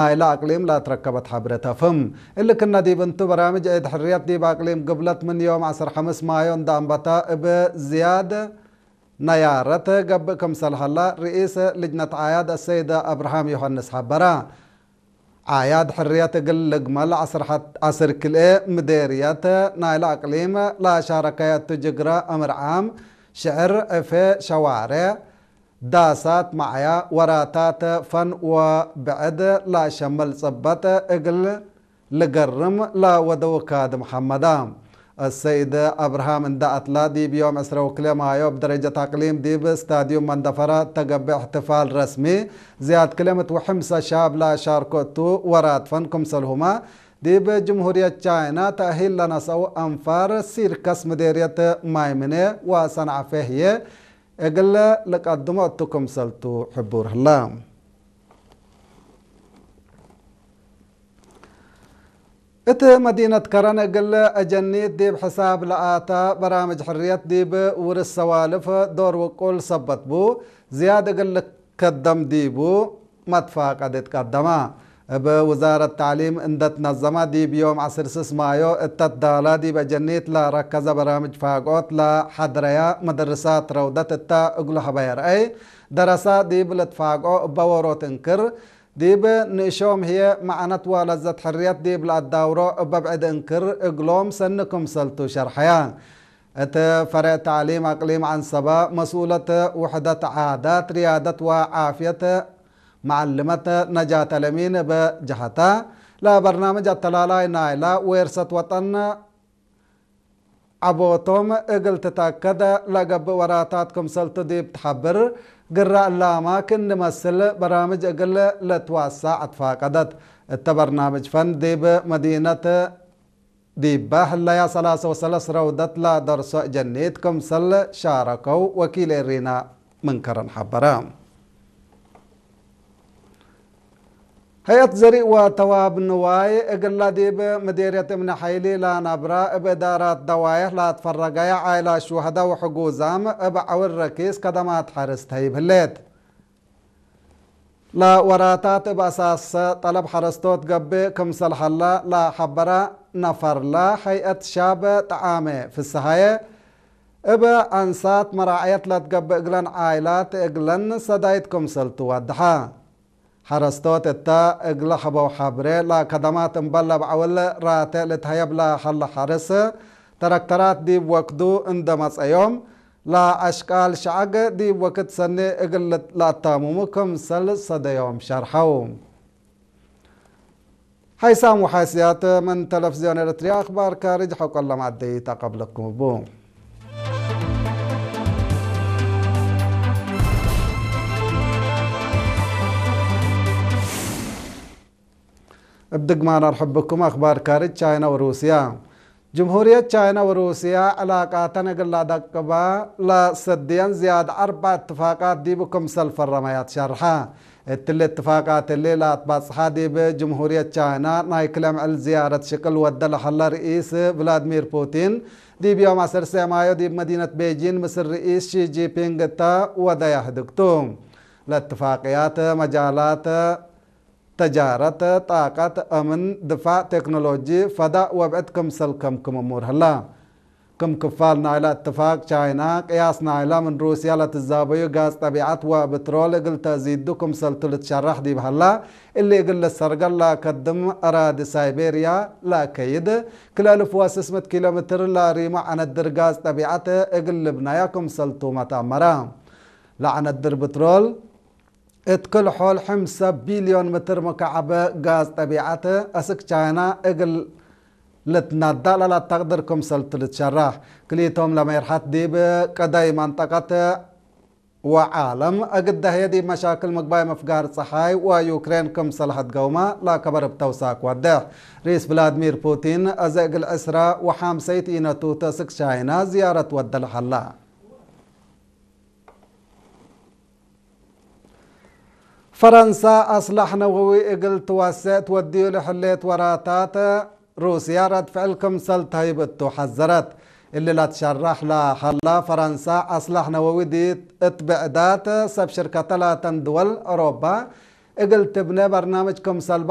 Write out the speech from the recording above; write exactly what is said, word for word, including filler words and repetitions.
ናይለ አቅሊም ለአትረከበት ሐብረ ተፍህም። እሊ ክነ ዲብ እንቱ፣ በራምጅ ዒድ ሕርየት ዲብ አቅሊም ግብለት ምን ዮም ዐስር ሐምስ ማዮ እንደ አንበተ እብ ዝያድ ነያረት ገብእ ክምሰል ሀላ፣ ርኢስ ልጅነት ዓያድ አሰይድ አብርሃም ዮሐንስ ሐበረ። ዓያድ ሕርየት እግል ልግመል ዐስር ሐት-፣ ዐስር ክልኤ ምዴርየት ናይለ አቅሊም ለአሻረከየ እቱ፣ ጅግረ፣ አምር ዓም፣ ሽዕር፣ ዕፌ፣ ሸዋሬዕ፣ ዳሳት፣ መዓያ፣ ወራታት፣ ፈን ወብዕድ ለአሸምል ጽበጥ እግል ልገርም ለወደው ካድም ሐመዳ። አሰይድ አብርሃም እንደ አትላ፣ ዲብ ዮም ዕስረ ወክልኤ ማዮ እብ ደረጀት አቅሊም ዲብ ስታድዩም መንደፈራ እተ ገብእ እሕትፋል ረስሚ፣ ዝያድ ክልኤ ምእት ወሐምሳ ሻብ ለአሻርኮ እቱ፣ ወራት ፈን ክምሰልሁመ ዲብ ጅምሁርየት ቻይና ተእሂል ለነሰአው አንፋር ሲርከስ ምዴርየት ማይምኔ ወሰንዓፌ ህዬ እግል ልቀድሞ እቱ ክምሰልቱ ሕቡር ህለ። እት መዲነት ከረን እግል አጀኒት ዲብ ሕሳብ ለአተ በራምጅ ሕርየት ዲብ ውርስ ሰዋልፍ ዶር ውቁል ሰበት ቡ፣ ዝያድ እግል ልከደም ዲቡ መትፋቀድ እትቀደመ። እብ ውዛረት ተዕሊም እንደ ትነዘመ ዲብ ዮም ዐስር ስስ ማዮ እተ ትዳላ ዲብ አጀኒት ለረከዘ በራምጅ ፋግኦት ለሐድረያ መደርሳት ረውደት እተ እግሉ ሀበየ ረአይ፣ ደረሳ ዲብ ልትፋግኦ እበ ዎሮት እንክር፣ ዲብ ንእሾም ህዬ መዕነት ወለዘት ሕርየት ዲብ ለአዳውሮ እበ ብዕድ እንክር እግሎም ሰኒ ክምሰልቱ ሸርሐየ። እት ፈሬዕ ተዕሊም አቅሊም ዐንሰበ መስኡለት ውሕደት ዓዳት፣ ርያደት ወዓፍየት መዐልመት ነጃት አለሚን እብ ጀሀታ፣ ለበርናምጅ አተላላይ ናይላ ዌርሰት ወጠን ዐቦቶም እግል ትተአከድ ለገብእ ወራታት ክምሰልቱ ዲብ ትሐብር፣ ግረ እላመ ክእኒ መስል በራምጅ እግል ልትወሰዕ አትፋቀደት። እተ በርናምጅ ፈን ዲብ መዲነት ዲበ ህለያ ሰላሰ ወሰለስ ረውደት ለደርሶ እጀኒት ክምሰል ሻረከው ወኪል ኤሪና ምን ከረን ሐበረ። ሀይአት ዘሪእ ወተዋብ ንዋይ እግላ ዲብ ምዴርየት እምኒ ሐይሊ ለነብራ እብ እዳራት ደዋየሕ ለአትፈረገየ ዓይላት ሹሀዳ ወሕጉዛም እብ ዐውል ረኪስ ከደማት ሐርስ ተህይብ ህሌት። ለወራታት እብ አሳስ ጠለብ ሐረስቶት ገብእ ክምሰል ሀላ ለሐበረ ነፈርለ ሀይአት ሻብ ጠዓመ ፍስሃየ፣ እብ አንሳት መራዕየት ለትገብእ እግለን ዓይላት እግለን ሰዳይት ክምሰልቱ ወደሐ። ሐረስቶት እተ እግለ ሐበው ሐብሬ ለከደማት እምበል ለበዐውል ራቴዕ ልትሀየብ ለሀለ ሐርስ፣ ተረክተራት ዲብ ወክዱ እንደ መጸዮም፣ ለአሽቃል ሸዐግ ዲብ ወክድ ሰኒ እግል ለአታምሙ ክምሰል ሰደዮም ሸርሐው። ሐይሳም ወሐይስያት ምን ተለፍዝዮን ኤረትርያ፣ አክባር ካርጅ ሐቆለ ማዕደይት አቀብለኩም እቡ። እብ ድግማን አርሕብኩም። አክባር ካርጅ ቻይና ወሩስያ። ጅምሁርየት ቻይና ወሩስያ ዕላቃተን እግል ለአደቅባ ለሰድየን ዝያድ አርበዕ እትፋቃት ዲቡ ክምሰል ፈረመያ ትሸርሐ። እትሊ እትፋቃት እሊ ለአትባጽሐ ዲብ ጅምሁርየት ቻይና ናይ ክለ ምዕል ዝያረት ሽቅል ወደ ለሀለ ርኢስ ቭላድሚር ፑቲን፣ ዲብ ዮም ዐሰርተ ማዮ ዲብ መዲነት ቤጂን ምስል ርኢስ ሺ ጂንፒንግ እተ ወደያ ህድግቱ። ለእትፋቅያት መጃላት ተጃረት፣ ጣቀት፣ አምን፣ ድፋዕ፣ ቴክኖሎጂ፣ ፈዳእ ወብዕድ ክምሰል ከምክም እሙር ህላ። ክም ክፋል ናይለ እትፋቅ፣ ቻይና ቅያስ ናይላ ምን ሩስያ ለትዛበዩ ጋዝ ጠቢዐት ወብትሮል እግል ተእዚዱ ክምሰልቱ ልትሸረሕ ዲብ ሀላ፣ እሊ እግል ልሰርገል ለከድም አራዲ ሳይቤርያ ለአከይድ፣ ክለ እልፍ ወስስ ምእት ኪሎ ሜትር ለሪሞ ዐነድር ጋዝ ጠቢዐት እግል ልብነያ ክምሰልቱ መትአመረ። ለዐነድር ብትሮል፣ እት ክል-ሖል ሕምሰ ቢልዮን ምትር ሙካዐብ ጋዝ ጠቢዐት አስክ ቻይና እግል ልትነዳእ ለለአተቅድር ክምሰልቱ ልትሸረሕ። ክልኢቶም ለሜርሐት ዲብ ቀደይ መንጠቀት ወዓለም እግል ደህየ ዲብ መሻክል ምግባይ ምፍጋር ጸሓይ ወዩክሬን ክምሰል ሀድገውመ ለከበር እብ ተውሳክ ወዴሕ። ርኢስ ቭላድሚር ፑቲን አዜ እግል ዕስረ ወሐምሰይት ኢነቱ ተስክ ቻይና ዝያረት ወደ ለሀላ። ፈረንሳ አስላሕ ነወዊ እግል ትወሴዕ ትወድዩ ለህሌት ወራታት፣ ሩስያ ረድ ፍዕል ክምሰል ተህይብ እቱ ሐዘረት። እሊ ለትሸረሕ ለሀላ፣ ፈረንሳ አስላሕ ነወዊ ዲብ እት ብዕዳት ሰብ ሽርከተ ላተን ድወል አውሮፓ እግል ትብኔ በርናምጅ ክምሰል